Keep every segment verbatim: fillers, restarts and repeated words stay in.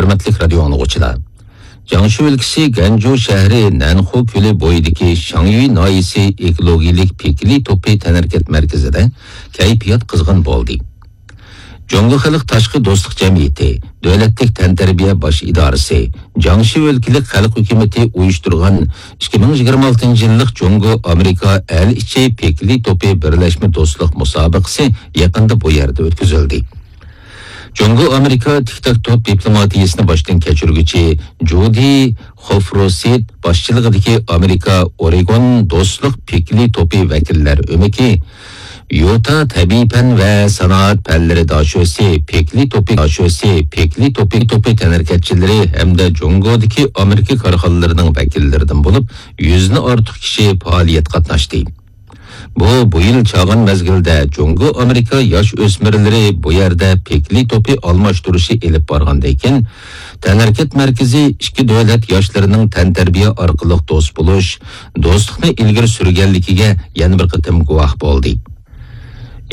ھۆرمەتلىك رادىيو ئاڭلىغۇچىلار! جياڭشى ئۆلكىسى گەنجۇ شەھىرى نەنخۇ كۆلى بويىدىكى شاڭيۈي ناھىيەسى ئېكولوگىيەلىك پېكلى توپى تەنھەرىكەت مەركىزىدە كەيپىيات قىزغىن بولدى. جۇڭگو خەلق تاشقى دوستلۇق جەمئىيىتى، دۆلەتلىك تەنتەربىيە باش ئىدارىسى، جياڭشى ئۆلكىلىك خەلق ھۆكۈمىتى ئۇيۇشتۇرغان ئىككى مىڭ يىگىرمە ئالتىنچى يىللىق جۇڭگو ئامېرىكا ئەل ئىچى پېكلى توپى بىرلەشمە دوستلۇق مۇسابىقىسى يېقىندا بۇ يەردە ئۆتكۈزۈلدى. جۇڭگو ئامېرىكا تىك تاك توپ دىپلوماتىيىسىنى باشتىن كەچۈرگۈچى جۇدى خوفروسىت باشچىلىقىدىكى ئامېرىكا ئورېگون دوستلۇق پېكلى توپى ۋەكىللەر ئۆمىكى، يۇتا تەبىئىي پەن ۋە سانائەت پەنلىرى داشۆسى پېكلى توپى، داشۆسى پېكلى توپى، توپى تەنھەرىكەتچىلىرى ھەمدە جۇڭگودىكى ئامېرىكا كارخانىلىرىنىڭ ۋەكىللىرىدىن بولۇپ، يۈزدىن ئارتۇق كىشى پائالىيەتكە قاتناشتى. بۇ، بۇ يىل چاغان مەزگىلدە جۇڭگو ئامېرىكا ياش ئۆسمۈرلىرى بۇ يەردە پېكلى توپى ئالماشتۇرۇشى ئېلىپ بارغاندىن كېيىن، تەنھەرىكەت مەركىزى ئىككى دۆلەت ياشلىرىنىڭ تەنتەربىيە ئارقىلىق دوست بولۇش، دوستلۇقنى ئىلگىرى سۈرگەنلىكىگە يەنە بىر قېتىم گۇۋاھ بولدى.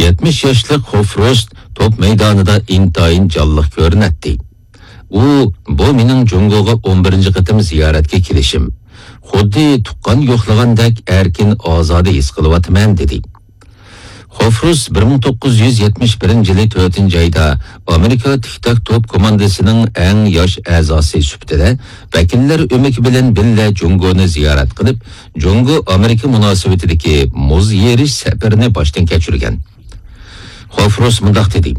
يەتمىش ياشلىق خوفروست توپ مەيدانىدا ئىنتايىن جانلىق كۆرۈنەتتى. ئۇ، بۇ مېنىڭ جۇڭگوغا ئون بىرىنچى قېتىم زىيارەتكە كېلىشىم. خۇددى تۇغقان يوقلىغاندەك ئەركىن، ئازادە ھېس قىلىۋاتىمەن، دېدى. خوفروس بىر مىڭ توققۇز يۈز يەتمىش بىرىنچى يىلى تۆتىنچى ئايدا ئامېرىكا تىك تاك توپ كوماندىسىنىڭ ئەڭ ياش ئەزاسى سۈپىتىدە ۋەكىللەر ئۆمىكى بىلەن بىللە جۇڭگونى زىيارەت قىلىپ، جۇڭگو ئامېرىكا مۇناسىۋىتىدىكى مۇز يېرىش سەپىرىنى باشتىن كەچۈرگەن. خوفروس مۇنداق دېدى: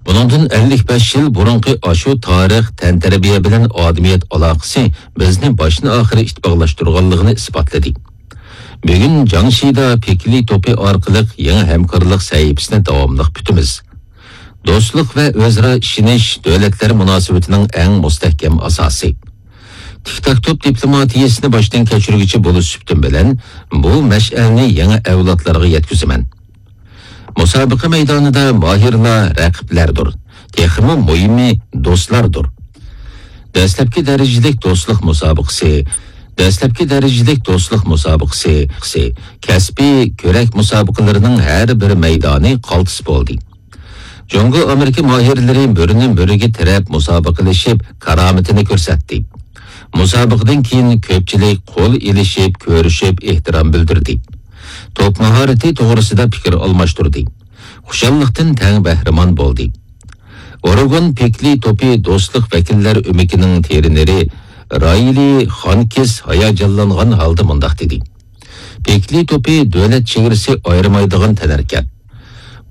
بۇنىڭدىن ئەللىك بەش يىل بۇرۇنقى ئاشۇ تارىخ، تەنتەربىيە بىلەن ئادىمىيەت ئالاقىسى بىزنى باشتىن ئاخىر ئىتتىپاقلاشتۇرغانلىقىنى ئىسپاتلىدى. بۈگۈن جياڭشىدا پېكلى توپى ئارقىلىق يېڭى ھەمكارلىق سەھىپىسىنى داۋاملىق پۈتىمىز. دوستلۇق ۋە ئۆزئارا ئىشىنىش دۆلەتلەر مۇناسىۋىتىنىڭ ئەڭ مۇستەھكەم ئاساسى. تىك تاك توپ دىپلوماتىيىسىنى باشتىن كەچۈرگۈچى بولۇش سۈپىتىم بىلەن بۇ مەشئەلنى يېڭى ئەۋلادلارغا يەتكۈزىمەن. مۇسابىقە مەيدانىدا ماھىرلار رەقىبلەردۇر، تېخىمۇ مۇھىمى دوستلاردۇر. دەسلەپكى دەرىجىلىك دوستلۇق مۇسابىقىسى، دەسلەپكى دەرىجىلىك دوستلۇق مۇسابىقىسى، كەسپىي كۆرەك مۇسابىقىلىرىنىڭ ھەر بىر مەيدانى قالتىس بولدى. جۇڭگو ئامېرىكا ماھىرلىرى مۈرىنى مۈرىگە تىرەپ مۇسابىقىلىشىپ، كارامىتىنى كۆرسەتتى. مۇسابىقىدىن كېيىن كۆپچىلىك قول ئېلىشىپ، كۆرۈشۈپ، ئېھتىرام بىلدۈردى. توپ ماھارىتى توغرىسىدا پىكىر ئالماشتۇردى. خۇشاللىقتىن تەڭ بەھرىمەن بولدى. ئورېگون پېكلى توپى دوستلۇق ۋەكىللەر ئۆمىكىنىڭ ترېنېرى رايلى خانكىس ھاياجانلانغان ھالدا مۇنداق دېدى: پېكلى توپى دۆلەت چېگرىسى ئايرىمايدىغان تەنھەرىكەت.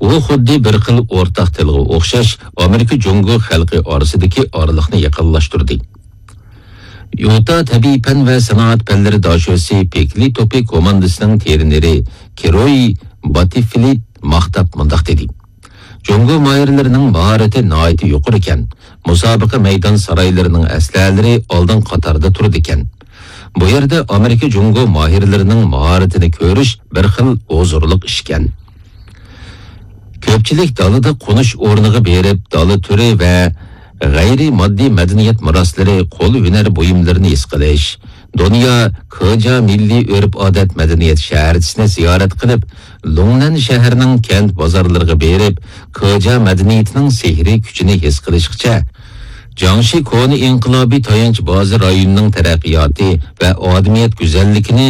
ئۇ خۇددى بىر خىل ئورتاق تىلغا ئوخشاش ئامېرىكا جۇڭگو خەلقى ئارىسىدىكى ئارىلىقنى يېقىنلاشتۇردى. يۇتا تەبىئىي پەن ۋە سانائەت پەنلىرى داشۆسى پېكلى توپى كوماندىسىنىڭ ترېنېرى كىروي باتىفلىت ماختاپ مۇنداق دېدى: جۇڭگو ماھىرلىرىنىڭ ماھارىتى ناھايىتى يۇقىرىكەن. مۇسابىقە مەيدان سارايلىرىنىڭ ئەسلىھەلىرى ئالدىنقى قاتاردا تۇرىدىكەن. بۇ يەردە ئامېرىكا جۇڭگو ماھىرلىرىنىڭ ماھارىتىنى كۆرۈش بىر خىل ھۇزۇرلۇق ئىشكەن. كۆپچىلىك دالىدا قونۇش ئورنىغا بېرىپ، دالا تۈرى ۋە غەيرىي ماددىي مەدەنىيەت مىراسلىرى، قول ھۈنەر بۇيۇملىرىنى ھېس قىلىش، دۇنيا كېجيا مىللىي ئۆرپ-ئادەت مەدەنىيەت شەھەرچىسىنى زىيارەت قىلىپ، لۇڭنەن شەھىرىنىڭ كەنت بازارلىرىغا بېرىپ، كېجيا مەدەنىيىتىنىڭ سېھرىي كۈچىنى ھېس قىلىشقىچە، جياڭشى كونا ئىنقىلابىي تايانچ بازا رايونىنىڭ تەرەققىياتى ۋە ئادىمىيەت گۈزەللىكىنى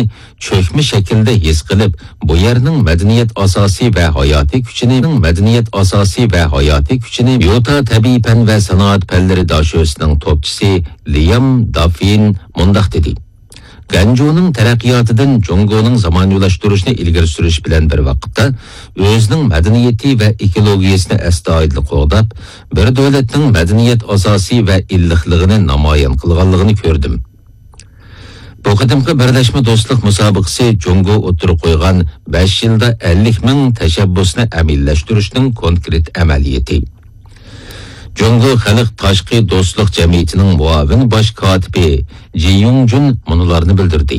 چۆكمە شەكىلدە ھېس قىلىپ، بۇ يەرنىڭ مەدەنىيەت ئاساسى ۋە ھاياتىي كۈچىنى، مەدەنىيەت ئاساسى ۋە ھاياتىي كۈچىنى يۇتا تەبىئىي پەن ۋە سانائەت پەنلىرى داشۆسىنىڭ توپچىسى لىيام دافىن مۇنداق دېدى: گەنجۇنىڭ تەرەققىياتىدىن جۇڭگونىڭ زامانىۋىلاشتۇرۇشنى ئىلگىرى سۈرۈش بىلەن بىر ۋاقىتتا، ئۆزىنىڭ مەدەنىيىتى ۋە ئېكولوگىيەسىنى ئەستايىدىل قوغداپ، بىر دۆلەتنىڭ مەدەنىيەت ئاساسى ۋە ئىللىقلىقىنى نامايان قىلغانلىقىنى كۆردۈم. بۇ قېتىمقى بىرلەشمە دوستلۇق مۇسابىقىسى جۇڭگو ئوتتۇرىغا قويغان بەش يىلدا ئەللىك مىڭ تەشەببۇسنى ئەمەلىيلەشتۈرۈشنىڭ كونكرېت ئەمەلىيىتى. جۇڭگو خەلق تاشقى دوستلۇق جەمئىيىتىنىڭ مۇئاۋىن باش كاتىپى جى يۇڭجۈن مۇنۇلارنى بىلدۈردى: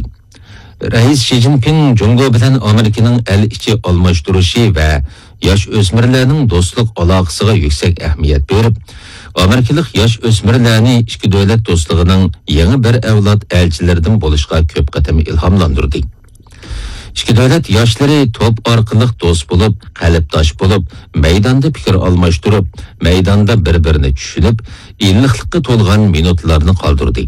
رەئىس شى جىنپىڭ جۇڭگو بىلەن ئامېرىكىنىڭ ئەل ئىچى ئالماشتۇرۇشى ۋە ياش ئۆسمۈرلەرنىڭ دوستلۇق ئالاقىسىغا يۈكسەك ئەھمىيەت بېرىپ، ئامېرىكىلىق ياش ئۆسمۈرلەرنى ئىككى دۆلەت دوستلۇقىنىڭ يېڭى بىر ئەۋلاد ئەلچىلىرىدىن بولۇشقا كۆپ قېتىم ئىلھاملاندۇردى. ئىككى دۆلەت ياشلىرى توپ ئارقىلىق دوست بولۇپ، قەلبداش بولۇپ، مەيداندا پىكىر ئالماشتۇرۇپ، مەيداندا بىر-بىرىنى چۈشىنىپ، ئىللىقلىققا تولغان مىنۇتلارنى قالدۇردى.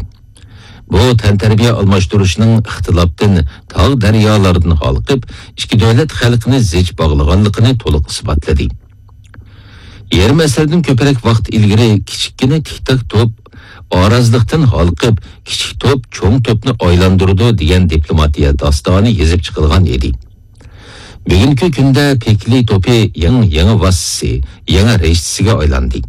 بۇ تەنتەربىيە ئالماشتۇرۇشنىڭ ئىختىلاپتىن، تاغ-دەريالاردىن ھالقىپ، ئىككى دۆلەت خەلقىنى زىچ باغلىغانلىقىنى تولۇق ئىسپاتلىدى. يېرىم ئەسىردىن كۆپرەك ۋاقىت ئىلگىرى كىچىككىنە تىك-تاك توپ ئارازلىقتىن ھالقىپ، كىچىك توپ چوڭ توپنى ئايلاندۇرىدۇ دېگەن دىپلوماتىيە داستانى يېزىپ چىقىلغان ئىدى. بۈگۈنكى كۈندە پېكلى توپى يېڭى، يېڭى ۋاسىتىسى، يېڭى رىشتىسىگە ئايلاندى.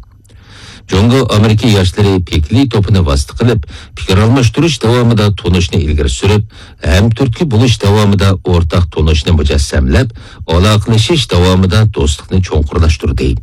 جۇڭگو ئامېرىكا ياشلىرى پېكلى توپىنى ۋاسىتە قىلىپ، پىكىر ئالماشتۇرۇش داۋامىدا تونۇشنى ئىلگىرى سۈرۈپ، ھەمتۈرتكە بولۇش داۋامىدا ئورتاق تونۇشنى مۇجەسسەملەپ، ئالاقىلىشىش داۋامىدا دوستلۇقنى چوڭقۇرلاشتۇردى.